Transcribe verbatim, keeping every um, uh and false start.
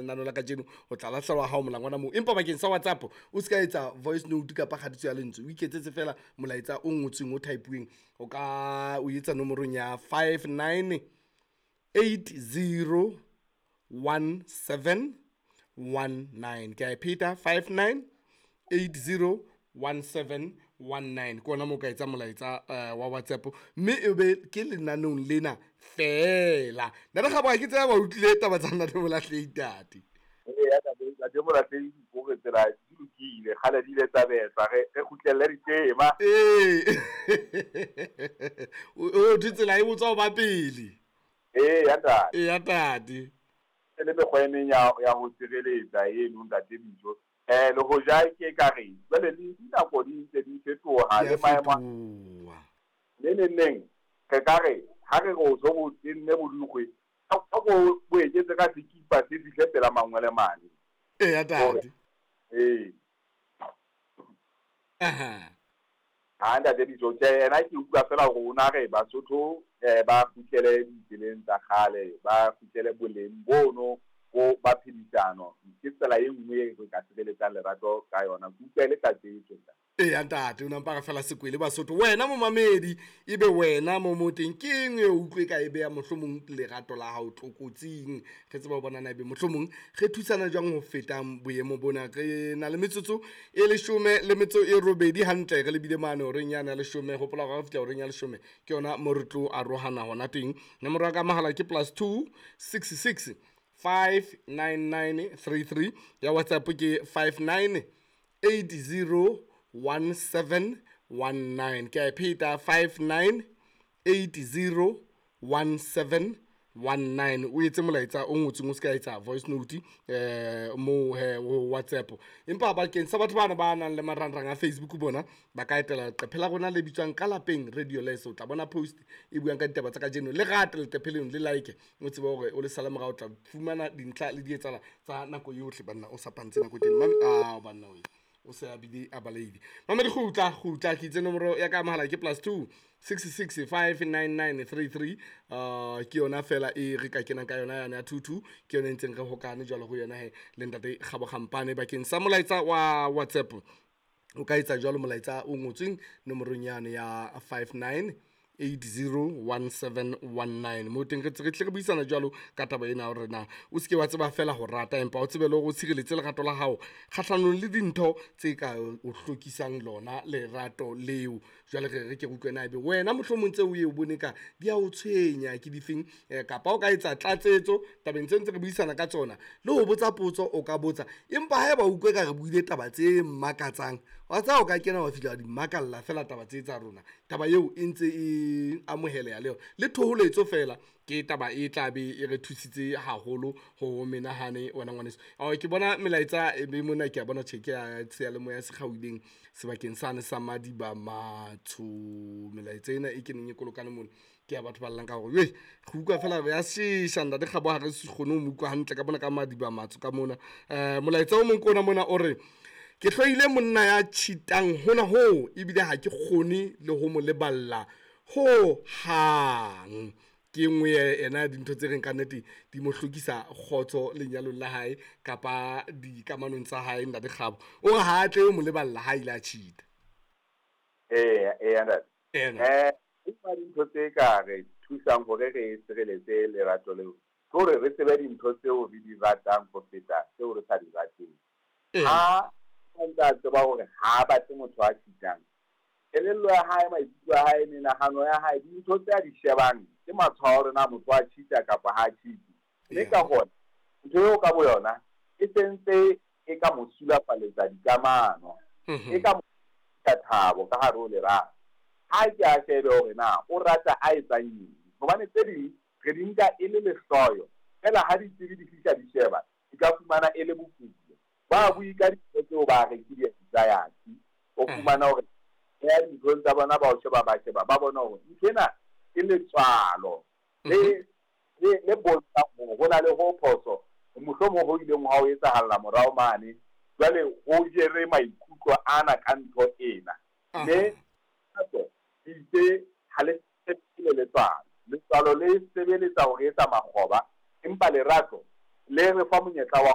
lenaneo la kajeno o tla lahlelwa hao molangwana moo. Empa bakeng sa WhatsApp o se ka etsa voice note kapa kgatiso ya lentswe, o iketsetse fela molaetsa o ngotsweng o type-uweng. O ka o etsa nomorong ya five nine eight zero one seven one nine. Ke a e pheta, five nine eight zero one seven one nine. Ke ona moo ka etsa molaetsa eh, wa WhatsApp, mme e be ke lenaneong lena fela. Ntate Kgabo, ha ke tseba ba utlwile taba tsa Ntate Molahlehi tate. Eya, ntate ntate Molahlehi hore tsela di lokile, kgale di ile tsa betlwa, re re kgutlelle ditema. Ee. O thwe tsela e botswa ho ba pele. Eya ntate. Eya tate. E le mekgwa e meng ya ya ho tshireletsa eno ntate Bijo. Eh le hoja ke ka re jwale le dinako di ntse di fetoha Di a le maemo a- fetoha. Le neng neng re ka re ha re re o so bo tenne bodukgwe, a ko bo eketse ka sekipa se fihle pela mangwele mane. Eya tate. Ee. Aha. Ha ntate Bijo, tjhe yena ke utlwa fela hore o na re Basotho eh ba kgutlele ditseleng tsa kgale, ba kgutlele boleng bono bo ba phedisano. Ke tsela e nngwe e re ka sireletsang lerato ka yona. Ke utlwa e le tlatsetso ntate. Eya ntate, o nampa re fela sekwele Basotho. Wena momamedi, ebe wena mo mo teng ke eng e utlwe ka e beya mohlomong lerato la hao tlokotsing? Re tseba ho bona na ebe mohlomong re thusana jwang ho feta boemo bona. Re na le metsotso e leshome le metso e robedi hantle, re lebile mane horeng yane ya leshome. Hopola hore ha re fihla horeng ya leshome ke yona mo re tlo arohana hona teng. Nomoro ya ka mahala ke plus two six six five nine nine three three, ya WhatsApp ke five nine eight zero one seven one nine. Ke a e pheta, five nine eight zero one seven one nine. O etse molaetsa o ngotsweng, o se ka etsa voice note eh mo he ho WhatsApp. Empa bakeng sa batho bana ba nang le marangrang a Facebook bona ba ka etela leqephe la rona le bitswang Ka Lapeng Radio Les. O tla bona post e buang ka ditaba tsa kajeno. Le rate leqephe leno, le like, o tsebe hore o le sale morao, o tla fumana dintlha le dietsala tsa nako yohle banna, o sa pantse nako teng. Mame, ah, banna we o se a bile a baleile. Mamedi, kgutla kgutla, ke itse nomoro ya ka mahala ke plus two six six five nine nine three three. Uh, ke yona fela e re ka kenang ka yona yane ya two two, ke yona e ntseng re hokane jwalo ho yona he le ntate Kgabo Kgampane. Bakeng sa molaetsa wa WhatsApp o ka etsa jwalo molaetsa o ngotsweng nomorong yane ya five nine eight zero one seven one nine. Mo teng re tle re tle re buisana jwalo ka taba ena hore na o seke wa tseba fela ho rata, empa o tsebe le hore o tshireletse lerato la hao kgahlanong le dintho tse ka o hlokisang lona lerato leo. Jwale re re ke utlwe na ebe wena mohlomong tseo o ye o bone ka di a o tshwenya ke difeng, eh, kapa o ka etsa tlatsetso tabeng tse ntse re buisana ka tsona, le ho botsa potso o ka botsa. Empa haeba o utlwe ka re buile taba tse makatsang, wa tseba o ka kena wa fihla wa di makalla fela taba tse tsa rona, taba eo e ntse e amoheleha le yona. Le thoholetso fela ke taba e tla be e re thusitse haholo ho menahane wena ngwaneso. Ao, ke bona melaetsa e be mona, ke a bona tjhe ke ya seyalemoya se kgaohileng sebakeng sane sa Madiba Matsho. Melaetsa ena e keneng e kolokane mona ke ya batho ba llang ka hore wei, re utlwa fela re ya shesha ntate Kgabo, ha re se kgone ho mo utlwa hantle ka mona ka Madiba Matsho ka mona. Eh, molaetsa o mong ke ona mona o re, ke hloile monna ya cheatang hona hoo, ebile ha ke kgone le ho mo leballa ho hang. Ke e nngwe ena ya dintho tse reng ka nnete di mo hlokisa kgotso lenyalong la hae kapa dikamanong tsa hae ntate Kgabo. O re ha a tle ho mo leballa ha ile a cheat-a. Eya, eya ntate. Ena. Eh, empa dintho tse ka re thusang hore re sireletse lerato leo, ke hore re tsebe dintho tseo re di ratang ho feta tseo re sa di rateng. Ee. Ha a ntse a tseba hore ha a batle motho a cheat-ang, kelello ya hae, maikutlo a hae, menahano ya hae, dintho tse a di shebang ke matshwao a hore na motho a cheat-a kapa ha a cheat-e. Mme Yeah. ka hona, ntho eo ka boyona e sentse e ka mo sulafaletsa dikamano, Mhm. e ka mo tlisa thabo ka hare ho lerato. Ha ke a shebe hore na o rata a etsang eng, hobane tse ding re di nka e le lehloyo, fela ha ditsebi di fihla di sheba, di ka fumana e le bokulo. Ba bue ka dintho tseo ba re ke di-anxiety, o Mhm. fumana hore ya dinthong tsa bona ba o sheba, ba sheba, ba bona hore ntho ena ke letswalo le Mhm. le, le bontshang hore ho na le ho phoso, mohlomong ho ileng ha o etsahalla morao mane, jwale ho jere maikutlo ana ka ntho ena. Aha. Mme hape itse ha le sebetse letswalo, letswalo le sebeletsa ho re etsa makgoba, empa lerato le re fa monyetla wa